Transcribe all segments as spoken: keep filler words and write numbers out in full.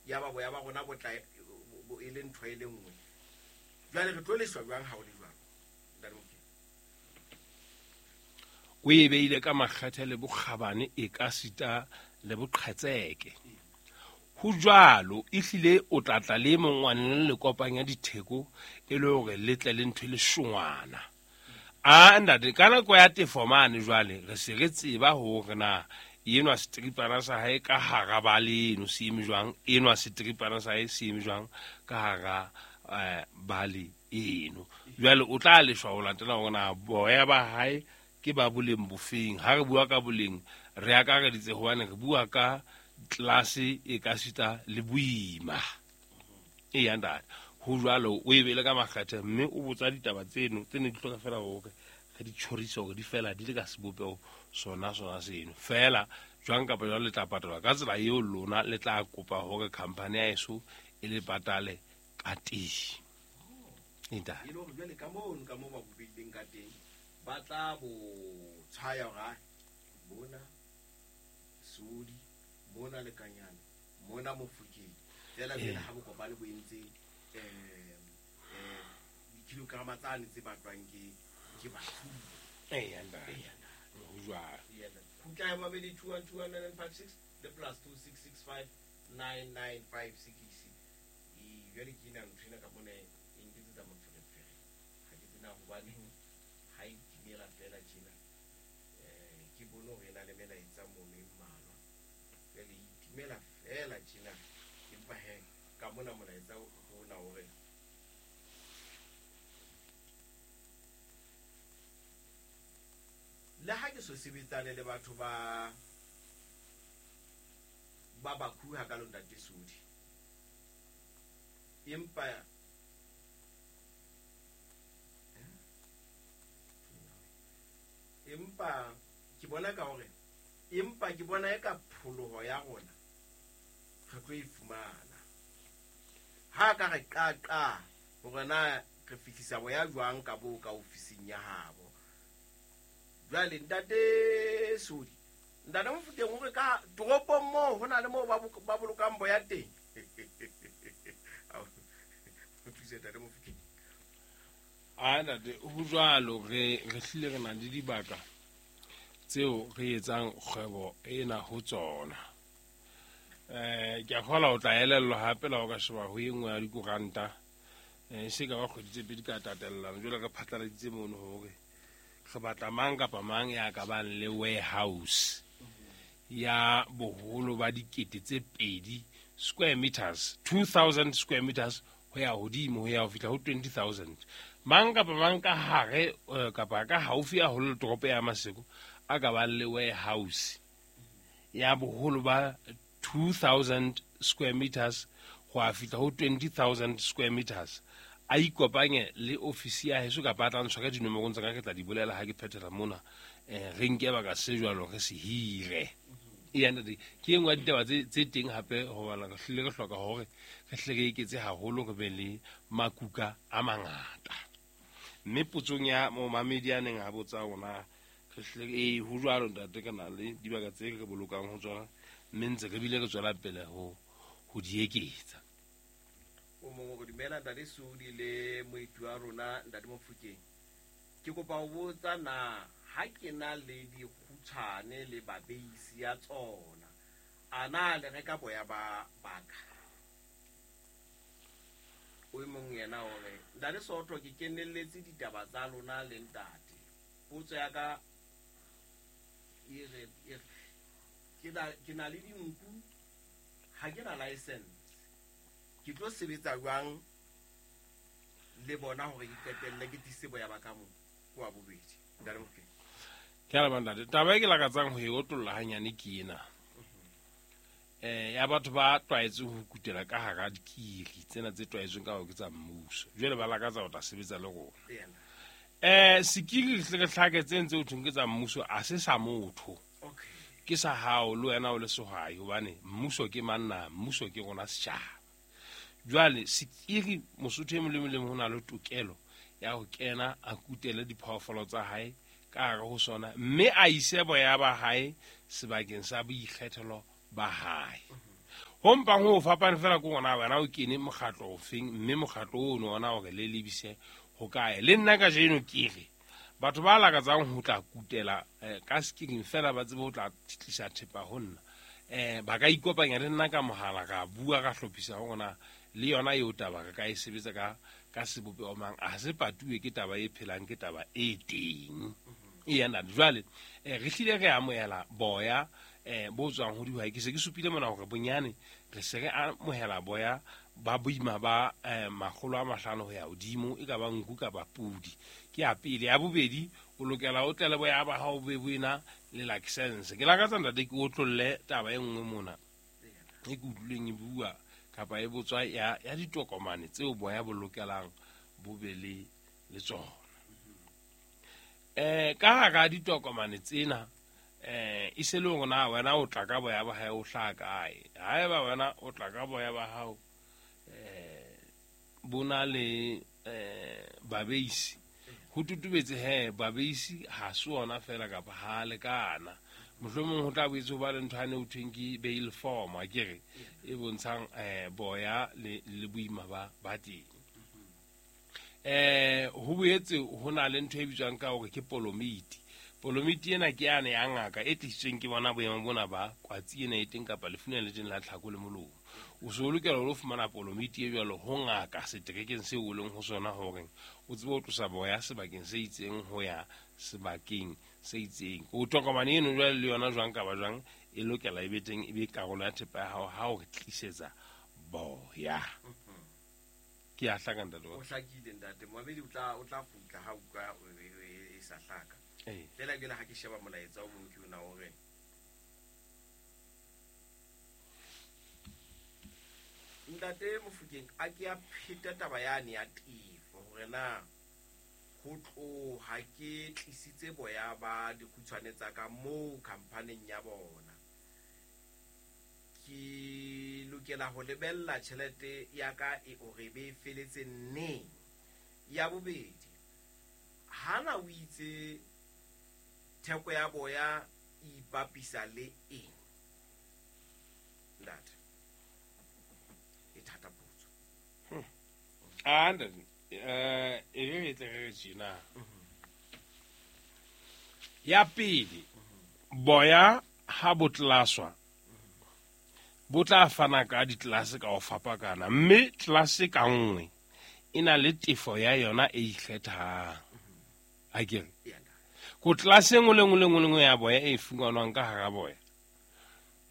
Ya ba boya ba rona bo tla bo e le ntho e le nngwe. Jwale re tlo leshwa jwang ha o le jwalo? Ntate Mofokeng. O e beile ka makgethe le bokgabane e ka sita le boqhetseke. Ho jwalo ehlile o tla tla le mongwane le kopanya ditheko e le hore le tle le ntho e le shongwana. A ntate ka nako ya tefo mane jwale re se re tseba hore na enwa setripana sa hae ka hara ba leno se eme jwang, enwa setripana sa hae se eme jwang ka hara eh, bale eno. Jwale o tla leshwa ho latela hore na boya ba hae ke ba boleng bofeng. Ha re bua ka boleng re akareditse hobane re bua ka tlase e ka sita le boima. Eya ntate, ho jwalo o e beile ka makgethe mme o botsa ditaba tseno tse ne di hloka fela hore re di tjhorise hore di fela di le ka sebopeho sona sona seno. Fela jwang kapa jwang le tla patalwa ka tsela eo lona le tla kopa hore company ya heso e le patale ka teng. Ntate. E le hore jwale ka mono ka moo ba bo beileng ka teng ba tla bo tshwaya hore hai, mona Sodi, mona Lekanyane, mona Mofokeng. Fela jwale ha bo kopane bo entse eh eh dikilograma tsane tse batlwang ke ke batho. Eya ntate. Ho jwalo. Khutla ya mabedi two one two one nine nine five six le plus two six six five nine nine five six. E jwale ke ena ntho ena ka mona e nketsetsa moferefere. Ha ke tsena hobaneng ha e timela fela tjena. Eh ke bone hore e na le melaetsa mono e mmalwa. Jwale e timela fela tjena. Empa he ka mona molaetsa ona hore le ha ke so sebetsane le batho ba ba Baku ha ka lo ntate Sodi. Empa empa ke bona ka hore empa ke bona e ka pholoho ya rona re tlo e fumana. Ha ka re qaqa hore na re fihlisa boya jwang ka bo ka ofising ya habo. Jwale ntate Sodi, ntate Mofokeng hore ka toropong moo ho na le moo ba ba bolokang boya teng. O thuse ntate Mofokeng. A ntate, ho jwalo re re hlile re na le dibaka tseo re etsang kgwebo ena ho tsona. Eh ke a kgolwa o tla elellwa hape la ho ka sheba ho e nngwe ya dikoranta. Eh se ka ba kgwedi tse pedi ka tatellano jwale re phatlaladitse mono hore re batla mang kapa mang ya ka bang le warehouse ya boholo ba dikete tse pedi square meters, two thousand square meters ho ya hodimo ho ya ho fihla ho twenty thousand. Mang kapa mang ka hare kapa ka haufi haholo le toropo ya Maseko a ka bang le warehouse ya boholo ba two thousand square meters ho ya fihla ho twenty thousand square meters. A ikopanye le ofisi ya heso kapa a tla ntshwa ka dinomorong tsa ka ke tla di bolela ha ke phethela mona. Eh re nke baka se jwalo re se hire. Eya ntate, ke e nngwe ya ditaba tse tse teng hape hobane re hlile re hloka hore re hle re eketse haholo re be le makuka a mangata. Mme potsong ya momamedi a neng a botsa rona re hlile e ho jwalo ntate ka na le dibaka tse re bolokang ho tsona mme ntse re bile re tswela pele ho ho di eketsa. O mongwe go dumela ntate Sodi le moeti wa rona ntate Mofokeng. Ke kopa ho botsa na ha ke na le dikgutshwane le babeisi ya tsona a na le reka boya ba baka? O mong yena o re ntate Soto ke kenelletse ditaba tsa lona le ntate. Potso ya ka e re ke na ke na le dinku ha ke na license. Ke tlo sebetsa jwang le bona hore ke qetelle ke tlise boya ba ka mo kwa bobedi? Ntate Mofokeng. Ke a leboha ntate. Taba e ke lakatsang ho e otolla hanyane ke ena. Eh ya batho ba tlwaetseng ho kutela ka hara dikiri tsena tse tlwaetsweng ka hore ke tsa mmuso. Jwale ba lakatsa ho tla sebetsa le rona. Eh sekiri le re hlake tse ntse ho thweng ke tsa mmuso a se sa motho. Okay. Ke sa hao le wena o le sehwai hobane mmuso ke manna, mmuso ke rona setjhaba. Jwale sekiri Mosotho e mong le mong ho na le tokelo ya ho kena a kutele diphoofolo tsa hae ka hare ho sona mme a ise boya ba hae sebakeng sa boikgethelo ba hae. Ho mpang ho fapane fela ke ona wena o kene mokgatlo ofeng, mme mokgatlo ono ona hore le lebise ho kae. Le nna kajeno ke re batho ba lakatsang ho tla kutela eh, ka skiring fela ba tsebe ho tla tlisa thepa ho nna, eh ba ka ikopanya le nna ka mohala, ka bua, ka hlophisa hore na le yona eo taba re ka e sebetsa ka ka sebopeho mang. A se patuwe ke taba e phelang, ke taba e teng. E yana jwale eh, re hlile re amohela boya eh bo tswang ho dihwai. Ke se ke supile mona hore bonyane re se re amohela boya ba boima ba eh, makgolo a mahlano ho ya hodimo, e ka ba nku kapa pudi. Ke ya pele. Ya bobedi, o lokela o tle le boya ba hao bo be bo ena le license. Ke lakatsa ntate ke otlolle taba e nngwe mona e ke utlwileng e bua kapa e botswa ya ya ditokomane tseo boya bo lokelang bo be le le tsona. Eh ka hara ditokomane tsena eh e se le hore na wena o tla ka boya ba hao o hlaha kae. Haeba wena o tla ka boya ba hao eh bona le eh babeisi, ho tutubetse he babeisi ha se ona fela kapa ha lekana. Mohlomong ho tla boetse ho ba le ntho ane ho thweng ke bail form, a ke re e bontshang eh boya le le boima ba ba teng. Eh ho boetse ho na le ntho e bitswang ka hore ke polomiti. Polomiti ena ke yane ya ngaka e tlisitsweng ke bona boemo bona ba kwatsi ena e teng kapa lefu lena le teng la tlhako le molomo. O so lokela hore o fumana polomiti e jwalo ho ngaka seterekeng seo o leng ho sona, hore o tsebe ho tlosa boya sebakeng se itseng ho ya sebakeng se itseng. O tokomane eno jwale le yona jwang kapa jwang e lokela e be teng, e be karolo ya thepa ya hao ha o re tlisetsa boya. Ke a hlaka ntate wa O hlakile ntate. Moabedi o tla o tla kgutla ha utlwa e sa hlaka. Ee. Fela ke le ha ke sheba molaetsa o mong ke ona o re Ntate Mofokeng a ke a pheta taba yane ya tefo hore na ho tloha ke tlisitse boya ba dikgutshwane tsa ka moo khamphaneng ya bona, ke lokela ho lebella tjhelete ya ka e hore be e feletse neng. Ya bobedi, hana o itse theko ya boya e ipapisa le eng? Ntate, e thata potso. Ah, ntate, eh e re tle re tjena. Ya pele, boya ha bo tlaswa bo tla fana ka ditlelase ka ho fapakana, mme tlelase ka nngwe e na le tefo ya yona e ikgethang. A ke re ko tlelase e nngwe le nngwe le nngwe le nngwe ya boya e fumanwang ka hara boya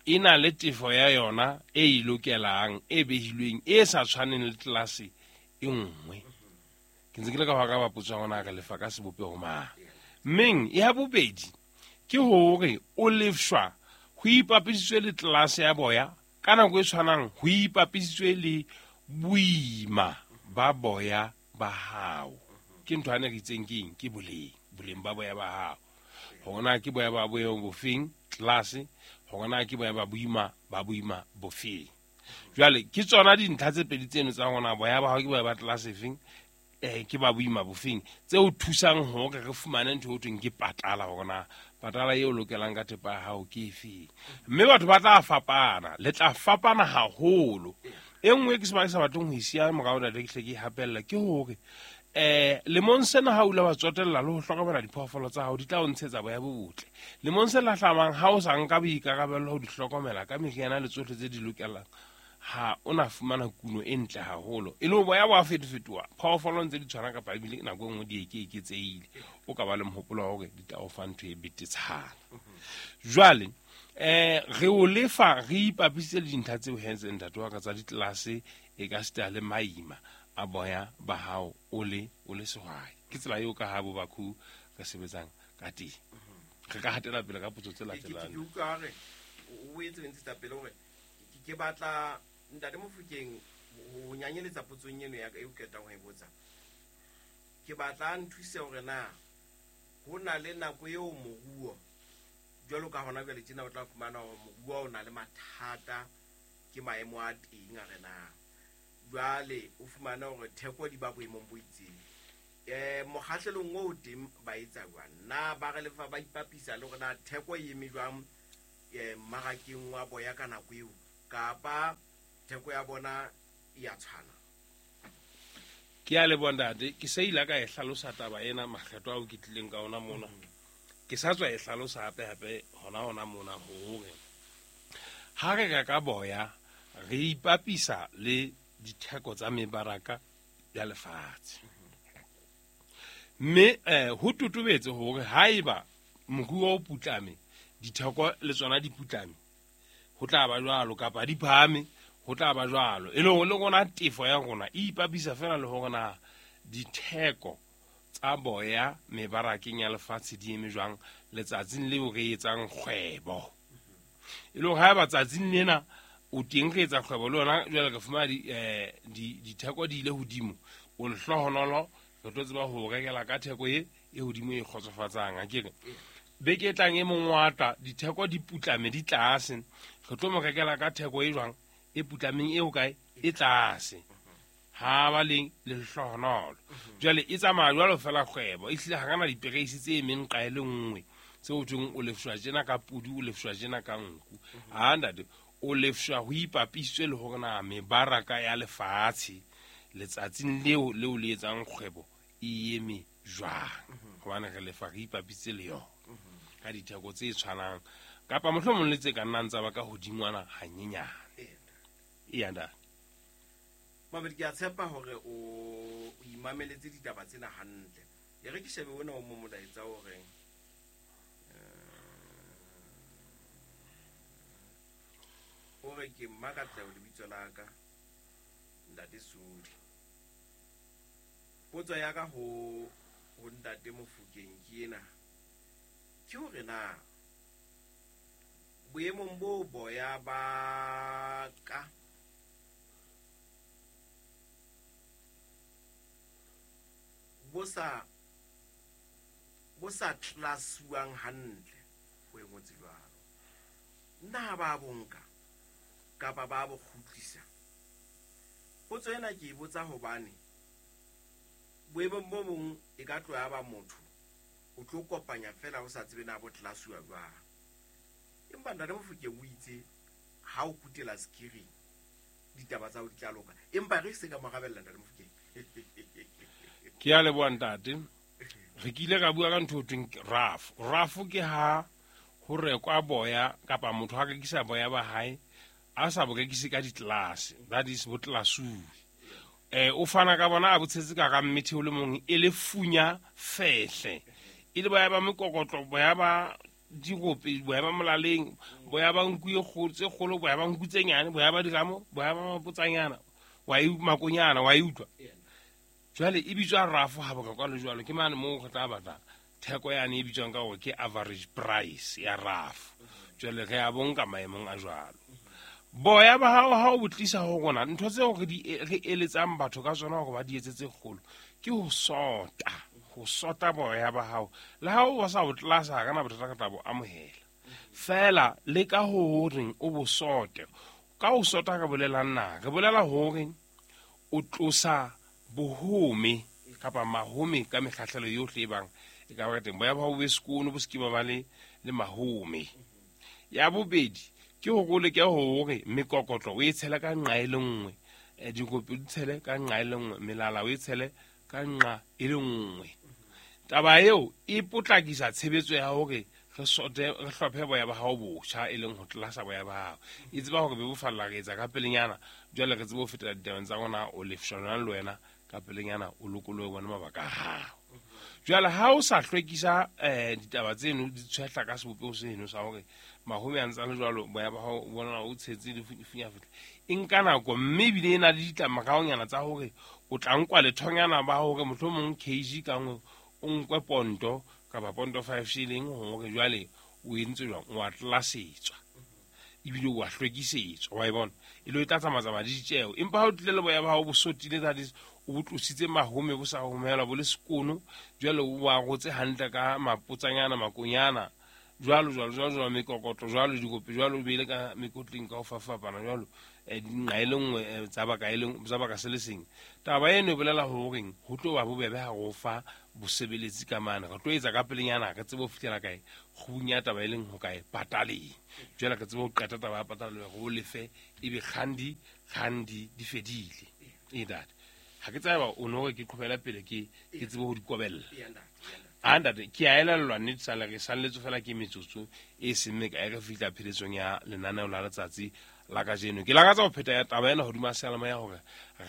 e na le tefo ya yona e e lokelang, e behilweng, e sa tshwaneng le tlelase e nngwe. Ke ntse ke le ka ho araba potso ya rona, re lefa ka sebopeho mang. Mmeng ya bobedi ke hore o lefshwa ho ipapisitswe le tlelase ya boya, ka nako e tshwanang ho ipapisitswe le boima ba boya ba hao. Ke ntho ane re itseng ke eng? Ke boleng, boleng ba boya ba hao. Hore na ke boya ba boemo bofeng tlelase, hore na ke boya ba boima ba boima bofeng. Jwale ke tsona dintlha tse pedi tseno tsa rona, boya ba hao ke boya ba tlelase efeng, eh ke ba boima bofeng, tse o thusang hore re fumane ntho e ho thweng ke patala, hore na patala eo lokelang ka thepa ya hao ke efeng. Mme batho ba tla fapana, le tla fapana haholo. E nngwe ke sebaka sa batleng ho e siya morao ntate ke hle ke e hapella ke hore eh lemong sena ha o ile wa tsotella le ho hlokomela diphoofolo tsa hao, di tla o ntshetsa boya bo botle. Lemong se lahlamang ha o sa nka boikarabelo ho di hlokomela ka meriana le tsohle tse di lokelang, ha o na fumana kuno e ntle haholo. E le ho boya bo a fetofetoha, phoofolo ntse di tshwana kapa ebile nako e nngwe di eke eketsehile, o ka ba le mohopolo wa hore di tla o fa ntho e betetshana. Jwale eh re o lefa re ipapisitse le dintlha tseo hentse ntate wa ka tsa ditlelase e ka sita le maima a boya ba hao o le o le sehwai. Ke tsela eo ka ha bo Bakhu re sebetsang ka teng. Re ka hatela pele ka potso tse Ke- ke- latelang. Ke utlwa hore o etse o ntshetsa pele hore ke, ke batla ntate Mofokeng ho nyanyeletsa potsong eno ya ka eo qetang ho e botsa. Ke batla a nthuse hore na ho na le nako eo moruo jwalo ka hona jwale tjena o tla fumana hore moruo o na le mathata ke maemo a teng a re na jwale o fumana hore theko di ba boemong bo itseng. Eh mokgahlelong o teng ba etsa jwang? Na ba re lefa ba ipapisa le hore na theko e eme jwang, eh, mmarakeng wa boya ka nako eo? Kapa theko ya bona e a tshwana? Ke a leboha ntate, ke se ile ka e hlalosa taba ena makgetho ao ke tlileng ka ona mona. Ke sa tswa e hlalosa hape hape hona hona mona hore ha re reka boya re ipapisa le ditheko tsa mebaraka ya lefatshe. Mme eh ho totobetse hore haeba moruo o putlame, ditheko le tsona di putlame, ho tla ba jwalo, kapa di phahame, ho tla ba jwalo. E le hore le rona tefo ya rona e ipapisa fela le hore na ditheko tsa boya mebarakeng ya lefatshe di eme jwang letsatsing leo re etsang kgwebo. E le hore haeba tsatsing lena o teng re etsa kgwebo le yona, jwale re fumana di, eh, di, ditheko di ile hodimo, o lehlohonolo re tlo tseba ho rekela ka theko e e hodimo e kgotsofatsang. Akere beke e tlang e mong wa tla, ditheko di putlame di tlase, re tlo mo rekela ka theko e jwang e putlameng e hokae e tlase. Ha ba leng lehlohonolo. Jwale e tsamaya jwalo fela kgwebo, ehlile ha kana dipereisi tse emeng nqa e le nngwe tse ho thweng o lefshwa tjena ka pudi, o lefshwa tjena ka nku. Ha ntate, o lefshwa ho ipapisitswe le hore na mebaraka ya lefatshe letsatsing leo leo le etsang kgwebo e eme jwang, hobane re lefa re ipapisitse le yona ka ditheko tse tshwanang kapa mohlomong le tse ka nnang tsa ba ka hodingwana hanyenyane. Eya ntate. Mabedi, ke a tshepa hore o imameletse ditaba tsena hantle. E re ke shebe ona o mo molaetsa o reng, o re ke Mmakatleho lebitso la ka, Ntate Sodi. Potso ya ka ho ho Ntate Mofokeng ke ena, ke hore na boemong bo boya ba ka bo sa bo sa tlasuwang hantle, ho e ngotse jwalo, na ba bonka kapa ba bo kgutlisa? Potso ena ke e botsa hobane boemong bo bong e ka tloha ba motho o tlo kopanya fela o sa tsebe na bo tlasuwa jwang. Empa Ntate Mofokeng o itse ha o kutela skiring ditaba tsa ho di tla loka, empa re se ka morabella Ntate Mofokeng. Ke a leboha ntate. Re kile ka bua ka ntho e thweng rafo. Rafo ke ha ho rekwa boya kapa motho a rekisa boya ba hae a sa bo rekise ka ditlelase, that is bo tlelasuwe. Eh o fana ka bona a bo tshetse ka ga mmethe o le mong e le funya fehle, e le boya ba mekokotlo, boya ba dirope, boya ba molaleng, boya ba nku e kgolo tse kgolo, boya ba nku tse nyane, boya ba diramo, boya ba mapotsanyana, wa e makonyana, wa e utlwa. Jwale e bitswa rafo ha bo ka le jwalo, ke mane moo re tla batla theko yane e bitswang ka hore ke average price ya rafo. Jwale re a bonka maemong a jwalo. Boya ba hao ha o bo tlisa ho rona, ntho tseo re di re eletsang batho ka tsona hore ba di etsetse kgolo ke ho sota, ho sota boya ba hao. Le ha o sa o tlasa ha kana bothata ka tla bo amohela. Fela le ka ho horeng o bo sote. Ka ho sota re bolelang na? Re bolela hore o tlosa bohome kapa mahome ka mekgahlelo yohle e bang e ka ba teng. Boya ba hao bo be sekono, bo se ke ba ba le le mahome. Ya bobedi ke hore o leke hore mekokotlo o e tshele ka nqa e le nngwe, dikopi di tshele ka nqa e le nngwe, melala o e tshele ka nqa e le nngwe. Taba eo e potlakisa tshebetso ya hore re sote, re hlophe boya ba hao botjha, e leng ho tlasa boya ba hao. E tseba hore bebofalla re etsa ka pelenyana, jwale re tsebe ho fetela ditabeng tsa rona, o lefshwa jwang le wena ka pelenyana, o lokolohe bona mabaka a hao. Jwale ha o sa hlwekisa eh ditaba tseno di tshwehla ka sebopeho seno sa hore mahome a ntse a le jwalo, boya ba hao bona o tshetse le funyafetle, e nka nako, mme ebile e na le ditlamoraonyana tsa hore o tla nkwa lethonyana ba hore mohlomong kg ka nngwe o nkwe ponto kapa ponto five shilling, hore jwale o entse jwang, o a tlasetswa ebile o a hlwekisetswa, wa e bona, e le o tla tsamaya le ditjeo. Empa ha o tlile le boya ba hao bo sotile, that is o bo tlositse mahome bo sa homelwa bo le sekono, jwale o a rotse hantle ka mapotsanyana, makonyana jwalo jwalo jwalo jwalo, mekokotlo jwalo, dikopi jwalo, o beile ka mekotleng ka ho fapana jwalo, nqa e le nngwe tsa baka e leng tsa baka se le seng. Taba eno e bolela horeng ho tlo ba bobebe ha re o fa bosebeletsi ka mane, re tlo etsa ka pelenyana re tsebe ho fihlela kae kgubung ya taba e leng ho kae pataleng. Jwale re tsebe ho qeta taba ya pataleng re o lefe ebe kgandi kgandi di fedile. E ntate, ha ke tseba o no re ke qhobela pele ke ke tsebe ho di kobella. A ntate, ke a elellwa nnete sale re salletswe fela ke metsotso e seng mekae re fihla pheletsong ya lenaneo la letsatsi la kajeno. Ke lakatsa ho pheta ya taba ena hodima seyalemoya hore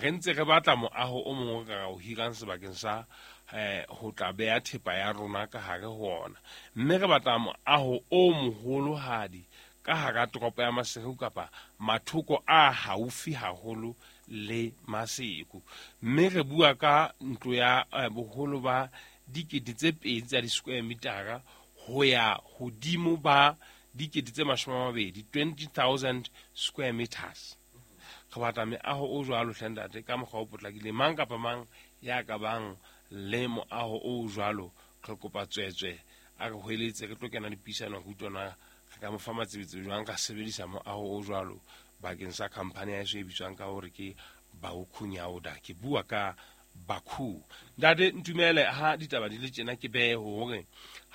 re ntse re batla moaho o mongwe re ka o hirang sebakeng sa eh ho tla beha thepa ya rona ka hare ho ona, mme re batla moaho o moholohadi ka hara toropo ya Maseru kapa mathoko a haufi haholo le Maseru. Mme re bua ka ntlo ya boholo ba dikete tse pedi tsa di-square metara ho ya hodimo ba dikete tse mashome a mabedi, twenty thousand square meters. Re batla meaho o jwalo hle ntate ka mokgwa o potlakileng. Mang kapa mang ya ka bang le moaho o jwalo, re kopa tswetswe a re hweletse, re tlo kena dipuisanong re utlwana re ka mo fa matsebetsi jwang ka sebedisa moaho o jwalo bakeng sa khampani ya heso e bitswang ka hore ke Baukhunyauda. Ke bua ka Bakhu. Ntate ntumele ha ditaba di le tjena ke behe hore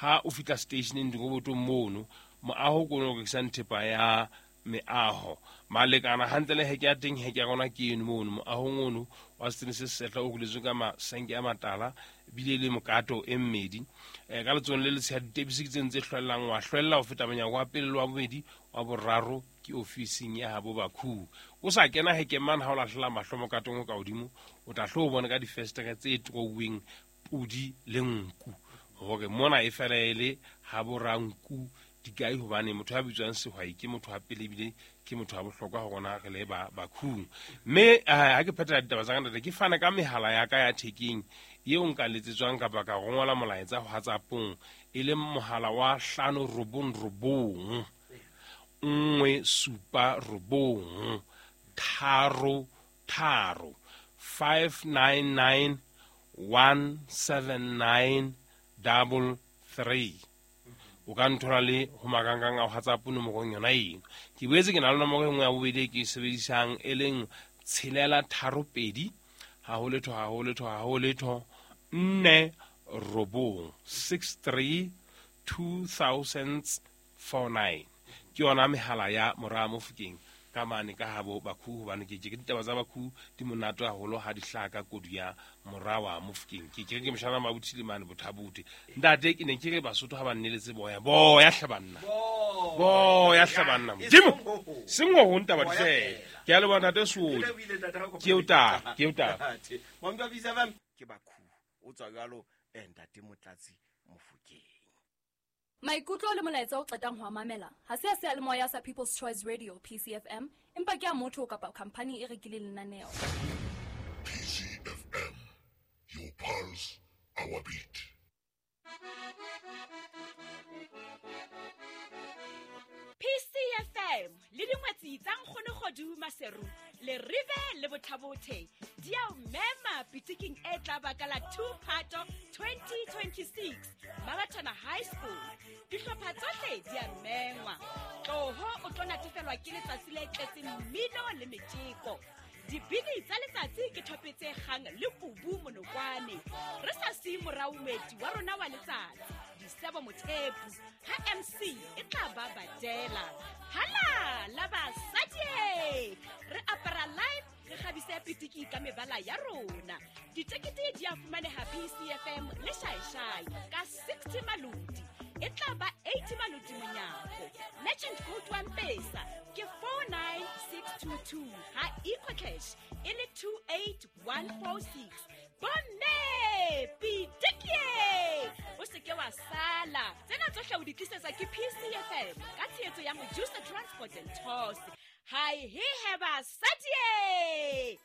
ha o fihla stationeng dirobotong mono moaho ko no rekisang thepa ya meaho malekana hantle le heke ya teng, heke ya rona ke eno mono moahong ono wa setene se sehla o ruletswe ka masenke a matala bile le mokato e mmedi. Eh, ka letsohong le letshehadi ditepisi ke tseno tse hlwellang, wa hlwella ho feta monyako wa pele le wa bobedi wa boraro ke ofising ya habo Bakhu. O sa kena hekeng mane ha o lahlela mahlo mokatong o ka hodimo, o tla hlo o bone ka difestere tse troweng podi le nku hore mona e fela e le habo ranku dikai, hobane motho ya bitswang sehwai ke motho wa pele ebile ke motho wa bohlokwa ho rona re le ba Bakhung. Mme ha ke phethela ditaba tsa ka ntate, ke fana ka mehala ya ka ya thekeng eo nka letsetswang kapa ka rongola molaetsa ho WhatsAppong, e leng mohala wa hlano robong robong nngwe supa robong tharo tharo five nine nine one seven nine double three. O ka nthola le ho makangkang a WhatsApp nomorong yona eno. Ke boetse ke na le nomoro e nngwe ya bobedi e ke e sebedisang e leng tshelela tharo pedi ha ho letho ha ho letho ha ho letho nne robong six three two thousand four nine. Ke yona mehala ya mora Mofokeng ka mane ka habo Bakhu, hobane ke ke ditaba tsa Bakhu di monate haholo ha di hlaha ka kodu ya mora wa Mofokeng. Ke ke ke moshana mabuthi le mane Bothabote. Ntate ke ne ke re Basotho ha ba nneletse boya boya hle banna boya hle banna Modimo seng ho ntaba di fela. Ke a leboha ntate Sodi, ke o ta ke o ta Mampa Bisa F M ke Bakhu o tswa jwalo ntate Motlatsi Mofokeng. Maikutlo le molaetsa o qetang ho mamela ha se a seyalemoya sa People's Choice Radio P C F M, empa ke a motho kapa khampani e rekileng lenaneo. P C F M, your pulse, our beat. P C F M le dingwetsi tsa Nkgono Kgodu Maseru le Rive le Bothabothe di a o mema pitiking e tla baka la two Phato twenty twenty-six Mabatana High School. Dihlopha tsohle di a mengwa. Tloho o tlo natefelwa ke letsatsi le tletseng mmino le metjeko. Dibini tsa letsatsi ke thope tse kgang le kubu monokwane. Re sa siye morao moeti wa rona wa letsatsi, Disebo Mothepu, ha M C e tla ba badela. Hala la basadi! Re apara live, re kgabise pitiki ka mebala ya rona. Ditekete di a fumaneha P C F M le Shaishai ka sixty malodi. E tla ba eighty malodi monyako. Merchant code wa M-Pesa ke four nine six two two ha EcoCash e le two eight one four six. Bomme pitiki! O se ke wa sala. Tsena tsohle o di tlisetsa ke P C F M ka tshehetso ya Mojusa Transport and Tours. Hi he he basadi!